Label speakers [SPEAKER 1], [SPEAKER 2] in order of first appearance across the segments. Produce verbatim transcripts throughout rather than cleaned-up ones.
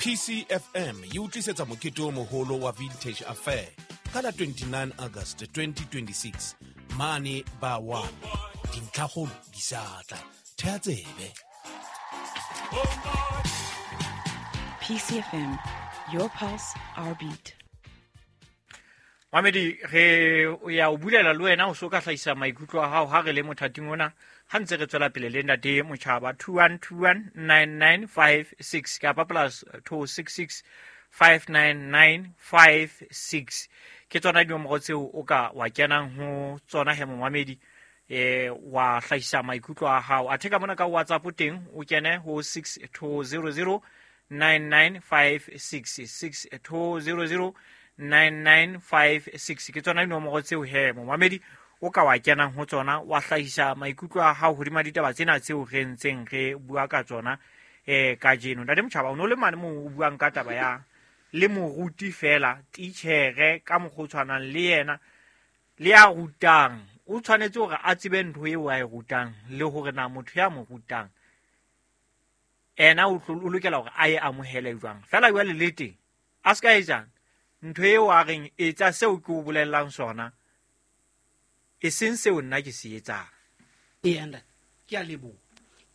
[SPEAKER 1] P C F M e utlisetsa mokete o moholo wa Vintage Affair ka la twenty-nine August twenty twenty-six mane ba one. Dintlhakgolo di sa tla. Thea tsebe.
[SPEAKER 2] P C F M, your pulse, our beat.
[SPEAKER 3] Mamedi, re o ya o bulela le wena o so ka hlahisa maikutlo a hao ha re le mothating ona. Ha ntse re tswela pele le ntate Motjhaba two one two one nine nine five six kapa plus two six six five nine nine five six. Ke tsona dinomoro tseo o ka wa kenang ho tsona he momamedi, eh, wa hlahisa maikutlo a hao. Athe ka mona ka WhatsApp teng o kene ho six two zero zero nine nine five six, six two zero zero nine nine five six. Ke tsona dinomoro tseo he momamedi o ka wa kenang ho tsona wa hlahisa maikutlo a hao hodima ditaba tsena tseo re ntseng re bua ka tsona, eh, kajeno. Ntate Motjhaba, o no le mane moo o buang ka taba ya le moruti fela, titjhere ka mokgwa o tshwanang le yena le ya rutang, o tshwanetse hore a tsebe ntho eo a e rutang le hore na motho ya mo rutang ena o tlo, o lokela hore a e amohele jwang. Fela jwale le teng a se ka etsang ntho eo a reng etsa seo ke o bolellang sona, e seng seo nna ke se etsang.
[SPEAKER 4] Ee, ntate, ke a leboha.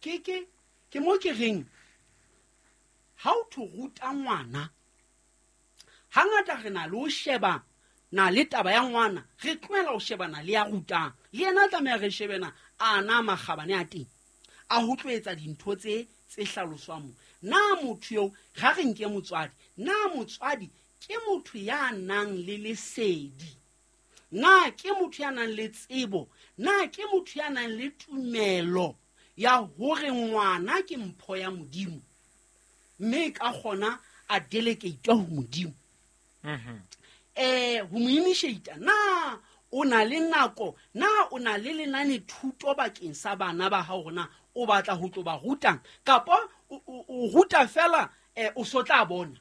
[SPEAKER 4] Ke, ke, ke mo ke reng ha o tho ruta ngwana, hangata re na le ho sheba na le taba ya ngwana, re tlohela ho shebana le ya rutang. Le yena tlameha re shebe na a na makgabane a teng a ho tlo etsa dintho tse, tse hlaloswang mo. Na motho eo, ha re nke motswadi, na motswadi ke motho ya nang le lesedi? Na ke motho ya nang le tsebo? Na ke motho ya nang le tumelo ya hore ngwana ke mpho ya Modimo, mme ka kgona a delegate ho Modimo?
[SPEAKER 3] Mhm.
[SPEAKER 4] Eh, ho mo initiate, na o na le nako, na o na le lenane thuto bakeng sa bana ba hao, na o batla ho tlo ba rutang kapa o, o, o ruta fela, eh, o so tla bona?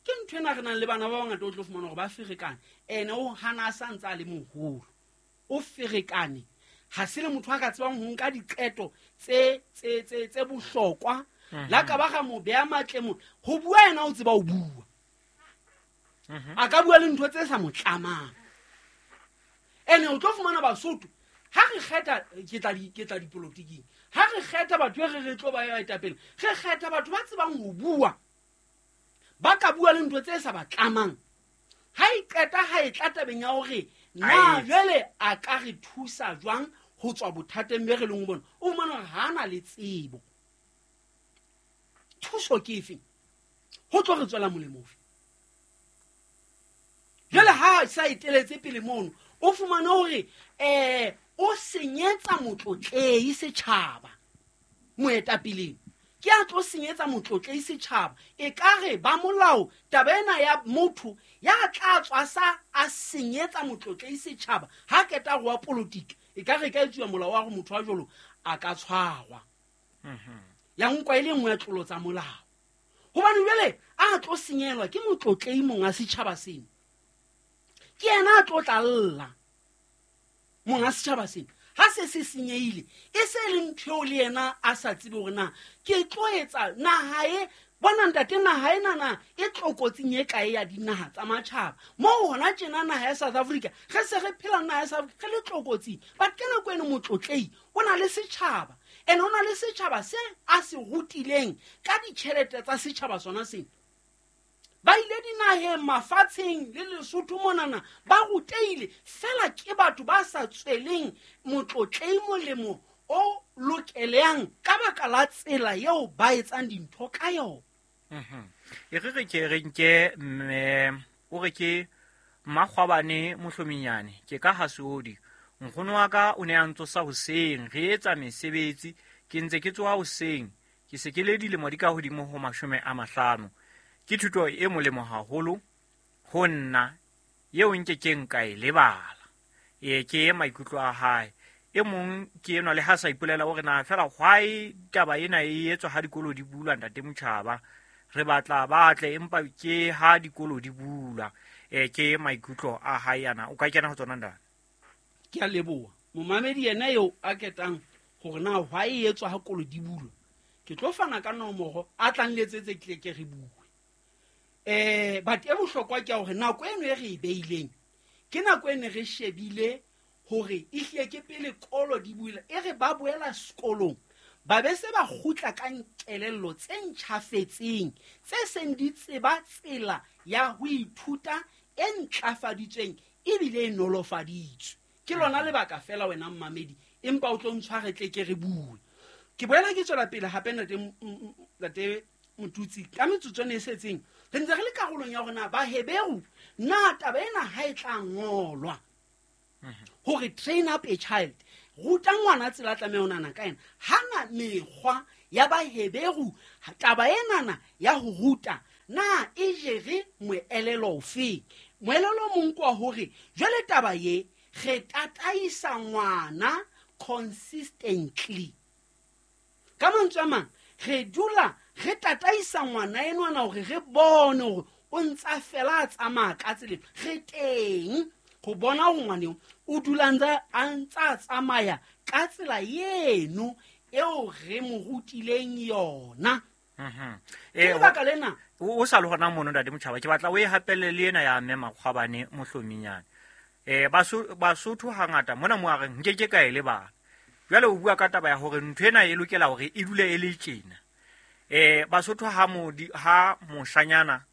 [SPEAKER 4] Ke ntho ena re nang le bana ba bangata o tlo fumana hore ba ferekane. Ene o hana a sa ntse a le moholo, o ferekane, ha se le motho a ka tsebang ho nka diqeto tse, tse, tse, tse bohlokwa.
[SPEAKER 3] Mhm.
[SPEAKER 4] La ka ba ga mo beha matle mo, ho bua yena o tseba ho bua.
[SPEAKER 3] Mhm.
[SPEAKER 4] A ka bua le ntho tse sa mo tlamang. Ene o tlo fumana Basotho, ha re kgetha, ke tla di, ke tla dipolotiking, ha re kgetha batho e re re tlo ba etapele, re kgetha batho ba tsebang ho bua, ba ka bua le ntho tse sa ba tlamang. Ha e qeta, ha e tla tabeng ya hore na
[SPEAKER 3] Ai.
[SPEAKER 4] jwale a ka re thusa jwang ho tswa bothateng be re leng ho bona, o fumana hore ha a na le tsebo. Thuso ke efe? Ho tlo re tswela molemo ofe? Jwale ha a sa eteletse pele mono, o fumane hore, eh, o senyetsa motlotlehi setjhaba. Moetapeleng ke a tlo senyetsa motlotlehi setjhaba. Ekare ba molao taba ena ya motho ya tla tswa sa a senyetsa motlotlehi setjhaba ha keta go wa politiki, e ka re ka etsuwa molao wa hore motho wa jwalo a ka tshwarwa.
[SPEAKER 3] Mhm.
[SPEAKER 4] Ya nkwa e le nngwe ya tlolo tsa molao. Hobane jwale a tlo senyelwa ke motlotlehi monga setjhaba sena. Ke yena a tlo tla lla monga setjhaba sena. Ha se se senyehile, e se le ntho eo le yena a sa tsebe hore na ke tlo etsa naha e, bona ntate, naha ena na e tlokotsing e kae ya dinaha tsa matjhaba. Moo hona tjena naha ya South Africa, re se re phela naha ya South Africa, re le tlokotsing. But ka nako eno motlotlehi o na le setjhaba, and o na le setjhaba se a se rutileng ka ditjhelete tsa setjhaba sona sena. Ba ile dinaheng, mafatsheng le Lesotho monana, ba rutehile fela ke batho ba sa tsweleng motlotlehi molemo o lokeleang ka baka la tsela eo ba etsang dintho ka yona.
[SPEAKER 3] Mhm. E re re ke re nke mme, o re ke Mmakgwabane Mohlominyane, ke ka Hasodi. Nkgono wa ka o ne a ntsosa hoseng, re etsa mesebetsi, ke ntse ke tsoha hoseng, ke se ke le dilemo di ka hodimo ho mashome a mahlano. Ke thuto e molemo haholo ho nna, eo nke keng ka e lebala. E, ke maikutlo a hae. E mong ke enwa le ha sa ipolela hore na fela why taba ena e etswa ha dikolo di bulwa, ntate Motjhaba. Re batla ba tle empa ke ha dikolo di bulwa. E, ke maikutlo a hae ana. O ka kena ho tsona ntate?
[SPEAKER 4] Ke a leboha. Momamedi yena eo a ketang hore na why e etswa ha kolo di bulwa. Ke tlo fana ka nomoro a tlang letsetse ke ke re bue. Eh but e bohlokwa ke hore nako eno e re e beileng ke nako e ne re shebile hore e hlile ke pele kolo di buile e re ba boela sekolong ba be se ba kgutla ka nkelello tse ntjhafetseng tse seng di tseba tsela ya ho ithuta e ntlafaditsweng ebile e nolofaditswe. Ke lona lebaka fela wena mmamedi empa o tlo ntshware tle ke re bue. Ke boela ke tswela pele hape ntate ntate Motutsi ka metsotso e setseng re ntse re le karolong ya rona ba Heberu na taba ena ha e tla ngolwa hore train up a child ruta ngwana tsela tlameha ho nana ka ena hana mekgwa ya ba Heberu taba enana ya ho ruta na e jere moelelo ofe. Moelelo mong kwa hore jwale taba ye re tataisa ngwana consistently ka mantswe a mang re dula re tataisa ngwana enwana hore re bone hore o ntsa fela a tsamaya ka tseleng re teng go bona hore ngwane o dula ntse a ntsa tsamaya ka tsela eno eo re mo rutileng yona.
[SPEAKER 3] Mhm.
[SPEAKER 4] Eh lebaka lena
[SPEAKER 3] o sa le hona mono ntate Motjhaba ke batla o e hapelle le ena ya mme Makgwabane mohlominyane. Eh Basotho hangata mona mo a reng nke ke ka e lebala. Jwale o bua ka taba ya hore ntho ena e lokela hore e dule e le tjena. Eh Basotho ha modi ha moshanyana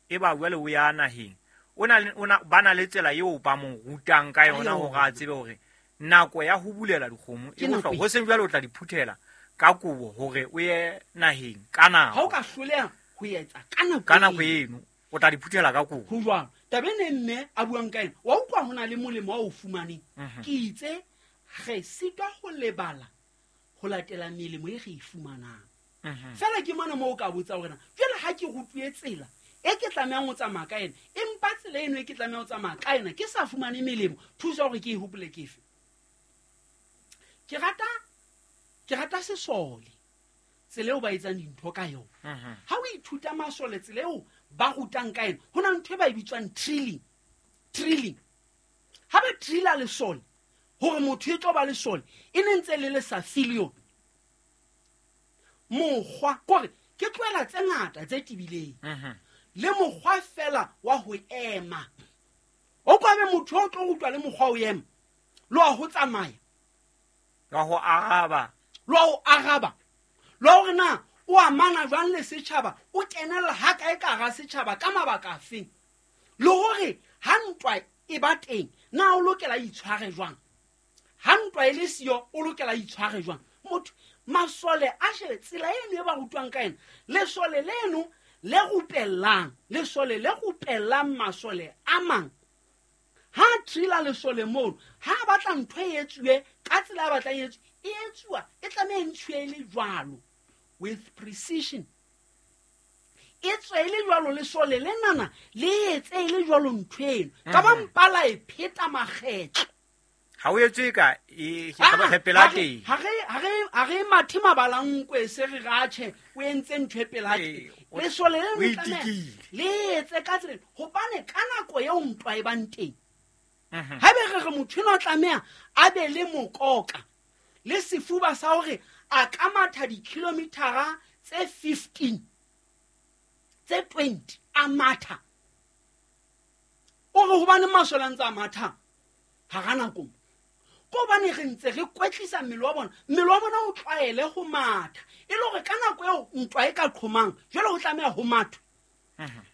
[SPEAKER 3] e ba jwale o ya naheng o na ona bana le tsela eo ba mo rutang ka yona hore a tsebe hore nako ya ho bulela dikgomo e bohlokwa ho seng jwale o tla di phuthela ka kobo hore o ye naheng ka nako.
[SPEAKER 4] Ha o ka hloleha ho etsa ka nako
[SPEAKER 3] ka nako eno o tla di phuthela ka kobo.
[SPEAKER 4] Ho jwalo taba ena mme a buang ka ena wa utlwa hona le molemo wa o fumaneng. Ke itse re sitwa ho lebala ho latela melemo e re e fumanang. Fela ke mona mo o ka botsa hore na jwale ha ke rutuwe tsela e ke tlamehang ho tsamaya ka ena empa tsela eno e ke tlamehang ho tsamaya ka ena ke sa fumane melemo thuso hore ke e hopole ke efe. Ke rata ke rata sesole tsela eo ba etsang dintho ka yona. Ha o ithuta masole tsela eo ba rutang ka ena ho na ntho e ba e bitswang drilling. Drilling ha ba drilla lesole hore motho e tlo ba lesole e ne ntse le le sa filion mokgwa kore ke tlohela tse ngata tse tibileng le mokgwa fela wa ho ema o kwabe motho o tlo rutwa le mokgwa o ema lo wa ho tsamaya
[SPEAKER 3] wa ho araba
[SPEAKER 4] lo ho araba lo hore na o amana jwang le setjhaba o kenella ha kae ka hara setjhaba ka mabaka afeng le hore ha ntwa e ba teng na o lokela itshware jwang ha ntwa e le siyo o lokela itshware jwang. Motho masole a shebe tsela eno e ba rutwang ka ena lesole leno le rupellang lesole le rupellang masole a mang ha trila lesole mono ha batla ntho e etsuwe ka tsela a batlang e etsuwe e etsuwa e tlameha e ntshwe le jwalo with precision e tswe le jwalo lesole lenana le etse le jwalo ntho eno ka ba mpala e pheta makgetlo
[SPEAKER 3] ha o etswe ka e ke pela teng
[SPEAKER 4] ha re ha re ha re mathe mabalankwe se re ratjhe o entse ntho e pela teng lesole le le etse ka tsela hobane ka nako eo ntwa e bang teng ha be re re motho eno tlameha a be le mokoka le sefuba sa hore a ka matha dikilometara tse fifteen tse twenty a matha o re hobane masole a ntse a matha hara nako ko hobane re ntse re kwetlisa mmele wa bona mmele wa bona o tlwaele ho matha e le hore ka nako eo ntwa e ka qhomang jwale ho tlameha ho mathwa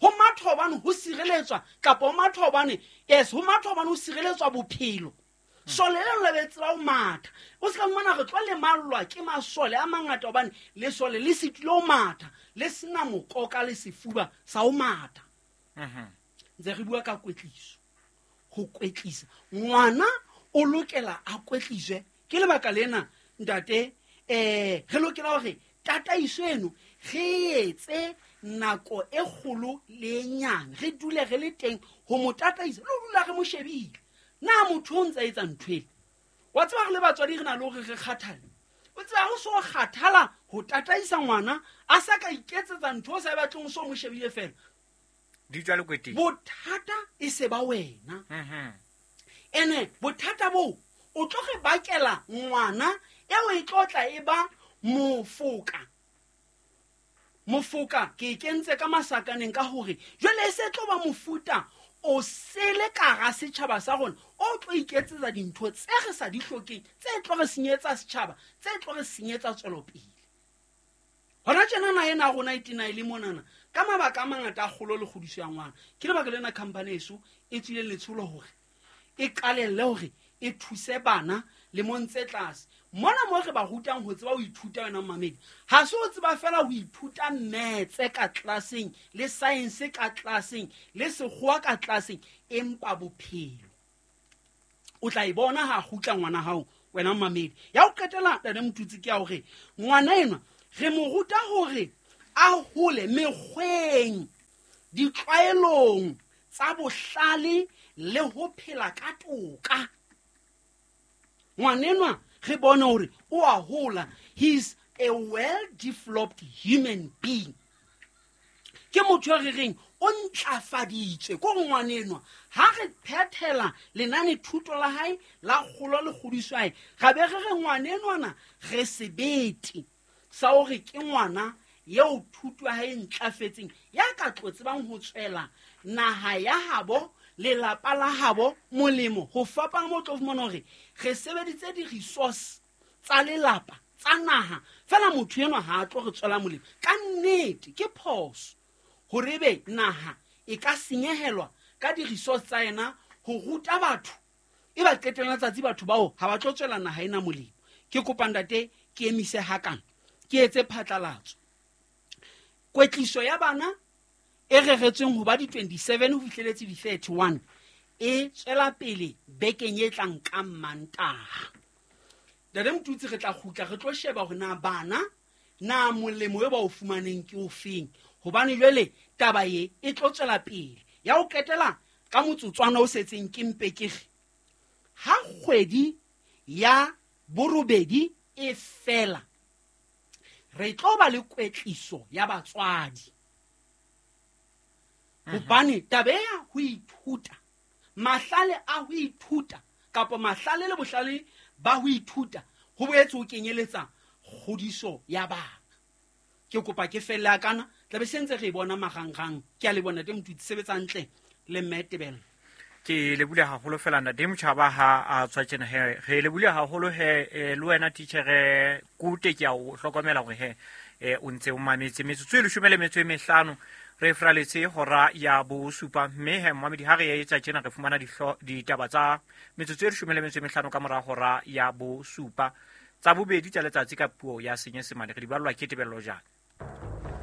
[SPEAKER 4] ho mathwa hobane ho sireletswa kapa ho mathwa hobane yes ho mathwa hobane ho sireletswa bophelo. Sole leno le be tseba ho matha o se ka fumana re tlo lemallwa ke masole a mangata hobane lesole le sitile ho matha le sena mokoka le sefuba sa ho matha. Ntse re bua ka kwetliso ho kwetlisa ngwana o lokela a kwetliswe ke lebaka lena ntate eh re lokela hore tataiso eno re etse nako e kgolo le e nyane re dule re le teng ho mo tataisa le ho dula re mo shebile na motho o ntse a etsa ntho ena wa tseba re le batswadi re na le hore re kgathale o tseba ho so kgathala ho tataisa ngwana a sa ka iketsetsa ntho o sa e batleng o so mo shebile fela
[SPEAKER 3] di tswa lekweteng
[SPEAKER 4] bothata e se ba wena ene bothata bo o tlo re bakela ngwana eo e tlo tla e ba mofoka Mofoka ke e kentse ka masakaneng ka hore jwale e se tlo ba mofuta o sele ka hara setjhaba sa rona o tlo iketsetsa dintho tse re sa di hlokeng, tse tlo re senyetsa setjhaba, tse tlo re senyetsa tswelopele. Hona tjena naha ena ya rona e tena e le monana ka mabaka a mangata a kgolo le kgodiso ya ngwana. Ke lebaka lena company eso e tswileng letsholo hore e qalelle hore e thuse bana lemong tse tlase. Mona mo re ba rutang ho tseba ho ithuta wena mmamedi, ha se o tseba fela ho ithuta maths ka tlelaseng le science ka tlelaseng le sekgowa ka tlelaseng, empa bophelo o tla e bona ha kgutla ngwana hao wena mmamedi. Ya ho qetela ntate Motutsi ke ya hore ngwana enwa re mo ruta hore a hole mekgweng, ditlwaelong tsa bohlale le ho phela ka toka. Ngwanenwa re bone hore o a hola, he is a well developed human being. Ke motho ya re reng o ntlafaditswe ko re ngwanenwa ha re phethela lenane thuto la hae la kgolo le kgodiso ya hae, ra be re re ngwanenwana re sebete sa hore ke ngwana eo thuto ya hae e ntlafetseng, ya ka tlo tsebang ho tswela naha ya habo, lelapa la habo molemo. Ho fapana mo tlo fumana hore re sebeditse di-resource tsa lelapa tsa naha, fela motho enwa ha a tlo re tswela molemo. Ka nnete ke phoso hore ebe naha e ka senyehelwa ka di-resource tsa yena ho ruta batho, e ba qetellong la tsatsi batho bao ha ba tlo tswela naha ena molemo. Ke kopa ntate ke emise hakana, ke etse phatlalatso. Kwetliso ya bana e reretsweng ho ba di twenty-seven ho fihleletse di thirty-one e tswela pele bekeng e tlang ka Mantaha. Ntate Motutsi re tla kgutla re tlo sheba hore na bana na molemo e ba o fumaneng ke ofeng, hobane jwale taba e e tlo tswela pele. Ya ho qetela ka motsotswana o setseng ke mpe ke re ha kgwedi ya borobedi e fela re tlo ba le kwetliso ya batswadi. Hobane taba ya ho ithuta, mahlale a ho ithuta kapa mahlale le bohlale ba ho ithuta ho boetse ho kenyeletsa kgodiso ya bana. Ke kopa ke felle kana tla be sentse re bona marangrang. Ke a le bona teng Motutsi, sebetsa hantle le mme Tebello.
[SPEAKER 3] Ke lebule haholo fela ntate Motjhaba ha a tswa tjena he, re lebule haholo he, le wena titjhere Kute ke a o hlokomela hore he o ntse o mametse. Metsotso e leshome le metso e mehlano re fraletse hora ya bosupa, mme he mmamedi ha re etsa tjena re fumana ditaba tsa metsotso e leshome le metso e mehlano ka mora hora ya bosupa tsa bobedi tsa letsatsi ka puo ya Senyesemane. Re di ballwa ke Tebello Jane.